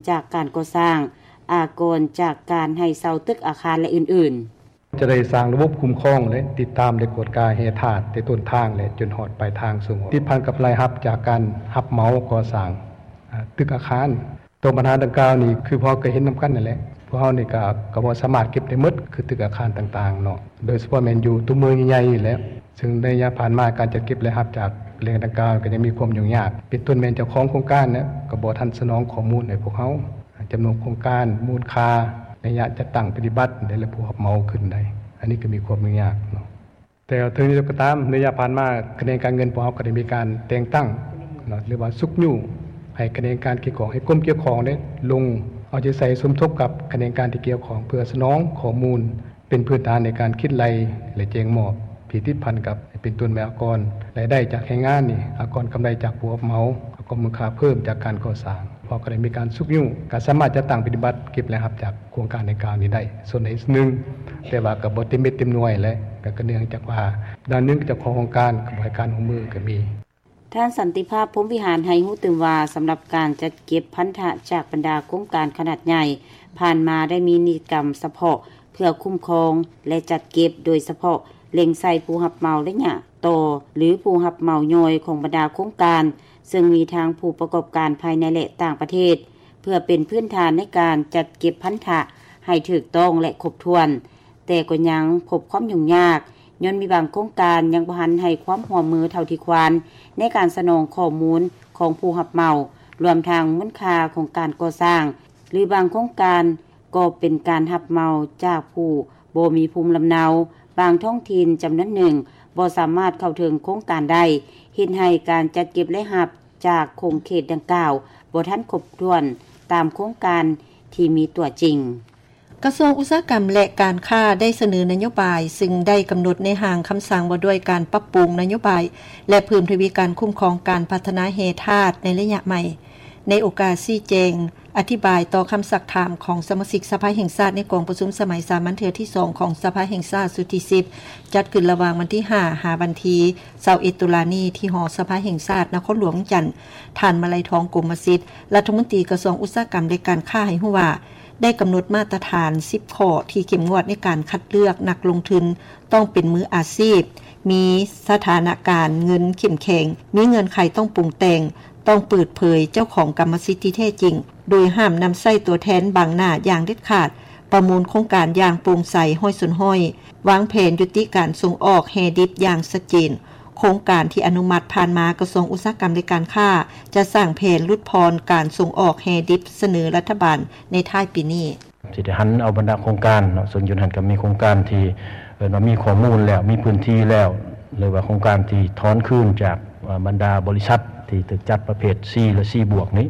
ຈາກການກໍ່ສ້າງ, ອາກອນຈາກການໃຫ້ເຊົ່າຕຶກອາຄານ ແລະ ອື່ນໆ. ຈະໄດ້ສ້າງລະບົບຄຸ້ມຄອງ ແລະ ຕິດຕາມ ແລະ ກວດກາແຮ່ທາດ ແຕ່ຕົ້ນທາງ ແລະ ຈົນຮອດປາຍທາງສົ່ງອອກ ຕິດພັນກັບລາຍຮັບຈາກການຮັບເໝົາກໍ່ສ້າງ ອາ ຕຶກອາຄານ. ຕໍ່ບັນຫາດັ່ງກ່າວນີ້ ຄືພວກເຮົາກໍເຫັນນຳກັນນັ້ນແຫຼະ ພວກເຮົານີ້ກໍ ກໍບໍ່ສາມາດເກັບໄດ້ໝົດ ຄືຕຶກອາຄານຕ່າງໆເນາະ ໂດຍສະເພາະແມ່ນຢູ່ຕົວເມືອງໃຫຍ່ໆນີ້ແຫຼະ. ເຊິ່ງໃນໄລຍະຜ່ານມາ ການຈັດເກັບລາຍຮັບຈາກແຫຼ່ງດັ່ງກ່າວ ກໍຍັງມີຄວາມຫຍຸ້ງຍາກ ເປັນຕົ້ນແມ່ນເຈົ້າຂອງໂຄງການເນຍ ກໍບໍ່ທັນສະໜອງຂໍ້ມູນໃຫ້ພວກເຮົາ ຈຳນວນໂຄງການ, ມູນຄ່າ, ໄລຍະຈັດຕັ້ງປະຕິບັດ ແລະ ຜູ້ຮັບເໝົາຂຶ້ນໄດ້ ອັນນີ້ກໍມີຄວາມຫຍຸ້ງຍາກເນາະ. ແຕ່ເຖິງຢ່າງໃດກໍຕາມ ໃນໄລຍະຜ່ານມາ ຂະແໜງການເງິນພວກເຮົາກໍໄດ້ມີການແຕ່ງຕັ້ງເນາະ ຫຼືວ່າຊຸກຍູ້ໃຫ້ຂະແໜງການກ່ຽວຂ້ອງ ໃຫ້ກົມກ່ຽວຂ້ອງໄດ້ລົງເອົາໃຈໃສ່ສົມທົບກັບຂະແໜງການທີ່ກ່ຽວຂ້ອງ ເພື່ອສະໜອງຂໍ້ມູນ ເປັນພື້ນຖານໃນການຄິດໄລ່ ແລະ ແຈ້ງມອບທີ່ຕິດພັນກັບ ເປັນຕົ້ນແມ່ນອາກອນລາຍໄດ້ຈາກແຮງງານນີ້, ອາກອນກຳໄລຈາກຜູ້ຮັບເໝົາ, ອາກອນມູນຄ່າເພີ່ມຈາກການກໍ່ສ້າງ. ພວກເຮົາກໍໄດ້ມີການຊຸກຍູ້ ການສາມາດຈັດຕັ້ງປະຕິບັດເກັບລາຍຮັບຈາກໂຄງການດັ່ງກ່າວນີ້ໄດ້ ສ່ວນໃດສ່ວນໜຶ່ງ, ແຕ່ວ່າກໍບໍ່ເຕັມເມັດເຕັມໜ່ວຍແຫຼະ ກໍ ກໍເນື່ອງຈາກວ່າ ດ້ານໜຶ່ງເຈົ້າຂອງໂຄງການກໍບໍ່ໃຫ້ການຮ່ວມມືກໍມີ. ທ່ານ ສັນຕິພາບ ພົມວິຫານ ໃຫ້ຮູ້ຕື່ມວ່າ ສຳລັບການຈັດເກັບພັນທະຈາກບັນດາໂຄງການຂະໜາດໃຫຍ່ ຜ່ານມາໄດ້ມີນິຕິກຳສະເພາະເພື່ອຄຸ້ມຄອງ ແລະ ຈັດເກັບ ໂດຍສະເພາະເລັງໃສ່ຜູ້ຮັບເໝົາໄລຍະຕໍ່ ຫຼື ຜູ້ຮັບເໝົາຍ່ອຍຂອງບັນດາໂຄງການ ເຊິ່ງມີທັງຜູ້ປະກອບການພາຍໃນ ແລະ ຕ່າງປະເທດ ເພື່ອເປັນພື້ນຖານໃນການຈັດເກັບພັນທະໃຫ້ຖືກຕ້ອງ ແລະ ຄົບຖ້ວນ. ແຕ່ກໍຍັງພົບຄວາມຫຍຸ້ງຍາກ ຍ້ອນມີບາງໂຄງການຍັງບໍ່ທັນໃຫ້ຄວາມຮ່ວມມືເທົ່າທີ່ຄວນ ໃນການສະໜອງຂໍ້ມູນຂອງຜູ້ຮັບເໝົາ, ລວມທັງມູນຄ່າຂອງການກໍ່ສ້າງ ຫຼື ບາງໂຄງການກໍເປັນການຮັບເໝົາຈາກຜູ້ບໍ່ມີພູມລຳເນົາ, ບາງທ້ອງຖິ່ນຈຳນວນໜຶ່ງບໍ່ສາມາດເຂົ້າເຖິງໂຄງການໄດ້, ເຮັດໃຫ້ການຈັດເກັບລາຍຮັບຈາກຂົງເຂດດັ່ງກ່າວບໍ່ທັນຄົບຖ້ວນຕາມໂຄງການທີ່ມີຕົວຈິງ. ກະຊວງອຸດສາຫະກຳ ແລະ ການຄ້າ ໄດ້ສະເໜີນະໂຍບາຍ ຊຶ່ງໄດ້ກຳນົດໃນຮ່າງຄຳສັ່ງວ່າດ້ວຍການປັບປຸງນະໂຍບາຍ ແລະ ເພີ່ມທະວີການຄຸ້ມຄອງການພັດທະນາແຮ່ທາດໃນໄລຍະໃໝ່. ໃນໂອກາດຊີ້ແຈງອະທິບາຍຕໍ່ຄຳຊັກຖາມຂອງສະມາຊິກສະພາແຫ່ງຊາດ ໃນກອງປະຊຸມສະໄໝສາມັນເທື່ອທີສອງຂອງສະພາແຫ່ງຊາດຊຸດທີສິບ ຈັດຂຶ້ນລະຫວ່າງວັນທີຫ້າ ຫາວັນທີຊາວເອັດ ຕຸລານີ້ ທີ່ຫໍສະພາແຫ່ງຊາດ ນະຄອນຫຼວງວຽງຈັນ, ທ່ານ ມະໄລທອງ ກົມມະສິດ ລັດຖະມົນຕີກະຊວງອຸດສາຫະກຳ ແລະ ການຄ້າ ໃຫ້ຮູ້ວ່າ ໄດ້ກຳນົດມາດຕະຖານສິບຂໍ້ທີ່ເຂັ້ມງວດໃນການຄັດເລືອກນັກລົງທຶນ ຕ້ອງເປັນມືອາຊີບ, ມີສະຖານະການເງິນເຂັ້ມແຂງ, ມີເງື່ອນໄຂຕ້ອງປຸງແຕ່ງ, ຕ້ອງເປີດເຜີຍເຈົ້າຂອງກຳມະສິດທີ່ແທ້ຈິງ, ໂດຍຫ້າມນຳໃຊ້ຕົວແທນບັງໜ້າຢ່າງເດັດຂາດ, ປະມູນໂຄງການຢ່າງໂປ່ງໃສຮ້ອຍສ່ວນຮ້ອຍ, ວາງແຜນຍຸຕິການສົ່ງອອກແຮ່ດິບຢ່າງຊັດເຈນ. ໂຄງການທີ່ອະນຸມັດຜ່ານມາ ກະຊວງອຸດສາຫະກຳ ແລະ ການຄ້າ ຈະສ້າງແຜນຫຼຸດຜ່ອນການສົ່ງອອກແຮ່ດິບສະເໜີລັດຖະບານໃນທ້າຍປີນີ້. ຊິໄດ້ຫັນເອົາບັນດາໂຄງການເນາະ ເຊິ່ງຢູ່ຫັ້ນກໍມີໂຄງການທີ່ເອີ້ນວ່າມີຂໍ້ມູນແລ້ວ, ມີພື້ນທີ່ແລ້ວ ຫຼືວ່າໂຄງການທີ່ຖອນຄືນຈາກ ເອີ ບັນດາບໍລິສັດທີ່ຖືກຈັດປະເພດ C ແລະ C ບວກນີ້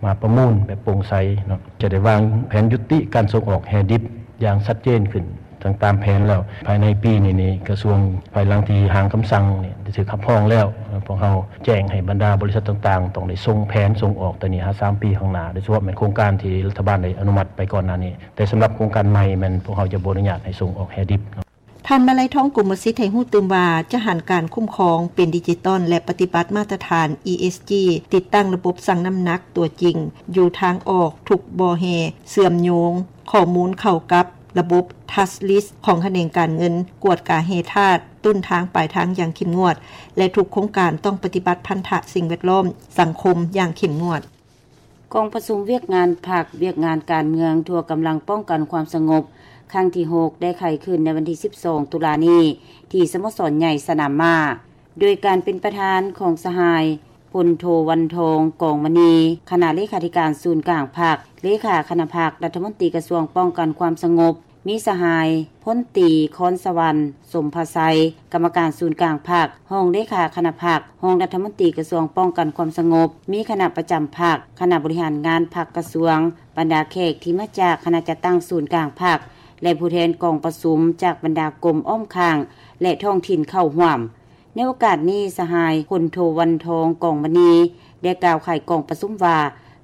ມາປະມູນແບບໂປ່ງໃສເນາະ. ຈະໄດ້ວາງແຜນຍຸຕິການສົ່ງອອກແຮ່ດິບຢ່າງຊັດເຈນຂຶ້ນ ທັງຕາມແຜນແລ້ວ. ພາຍໃນປີນີ້ນີ້ ກະຊວງ ພາຍຫຼັງທີ່ຮ່າງຄຳສັ່ງນີ້ໄດ້ຖືກຮັບຮອງແລ້ວ, ພວກເຮົາແຈ້ງໃຫ້ບັນດາບໍລິສັດຕ່າງໆ ຕ້ອງໄດ້ສົ່ງແຜນສົ່ງອອກແຕ່ນີ້ຫາສາມປີຂ້າງໜ້າ, ໂດຍສະເພາະແມ່ນໂຄງການທີ່ລັດຖະບານໄດ້ອະນຸມັດໄປກ່ອນໜ້ານີ້. ແຕ່ສຳລັບໂຄງການໃໝ່ແມ່ນພວກເຮົາຈະບໍ່ອະນຸຍາດໃຫ້ສົ່ງອອກແຮ່ດິບເນາະ. ທ່ານ ມະໄລທອງ ກົມມະສິດ ໃຫ້ຮູ້ຕື່ມວ່າ ຈະຫັນການຄຸ້ມຄອງເປັນດິຈິຕອນ ແລະ ປະຕິບັດມາດຕະຖານ ESG, ຕິດຕັ້ງລະບົບຊັ່ງນ້ຳໜັກຕົວຈິງຢູ່ທາງອອກທຸກບໍ່ແຮ່, ເຊື່ອມໂຍງຂໍ້ມູນເຂົ້າກັບລະບົບ TASLIS ຂອງຂະແໜງການເງິນ, ກວດກາແຮ່ທາດ ຕົ້ນທາງປາຍທາງຢ່າງເຂັ້ມງວດ ແລະ ທຸກໂຄງການຕ້ອງປະຕິບັດພັນທະສິ່ງແວດລ້ອມ, ສັງຄົມຢ່າງເຂັ້ມງວດ. ກອງປະຊຸມວຽກງານພັກ, ວຽກງານການເມືອງທົ່ວກຳລັງປ້ອງກັນຄວາມສະຫງົບ ຄັ້ງທີຫົກ ໄດ້ໄຂຂຶ້ນໃນວັນທີສິບສອງ ຕຸລານີ້ ທີ່ສະໂມສອນໃຫຍ່ສະໜາມມ້າ ໂດຍການເປັນປະທານຂອງສະຫາຍ ພົນໂທ ວັນທອງ ກອງມະນີ ຄະນະເລຂາທິການສູນກາງພັກ, ເລຂາຄະນະພັກ, ລັດຖະມົນຕີກະຊວງປ້ອງກັນຄວາມສະຫງົບ, ມີສະຫາຍ ພົນຕີ ຄອນສະຫວັນ ສົມພະໄຊ ກຳມະການສູນກາງພັກ, ຮອງເລຂາຄະນະພັກ, ຮອງລັດຖະມົນຕີກະຊວງປ້ອງກັນຄວາມສະຫງົບ, ມີຄະນະປະຈຳພັກ, ຄະນະບໍລິຫານງານພັກກະຊວງ, ບັນດາແຂກທີ່ມາຈາກຄະນະຈັດຕັ້ງສູນກາງພັກ ແລະ ຜູ້ແທນກອງປະຊຸມຈາກບັນດາກົມອ້ອມຂ້າງ ແລະ ທ້ອງຖິ່ນເຂົ້າຮ່ວມ. ໃນໂອກາດນີ້ ສະຫາຍ ພົນໂທ ວັນທອງ ກອງມະນີ ໄດ້ກ່າວໄຂກອງປະຊຸມວ່າ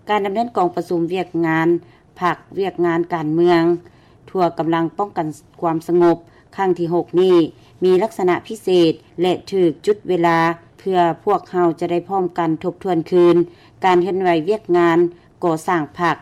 ການດຳເນີນກອງປະຊຸມວຽກງານພັກ, ວຽກງານການເມືອງ ທົ່ວກຳລັງປ້ອງກັນຄວາມສະຫງົບ ຄັ້ງທີຫົກນີ້ ມີລັກສະນະພິເສດ ແລະ ຖືກຈຸດເວລາ ເພື່ອພວກເຮົາຈະໄດ້ພ້ອມກັນທົບທວນຄືນ ການເຄື່ອນໄຫວວຽກງານກໍ່ສ້າງພັກ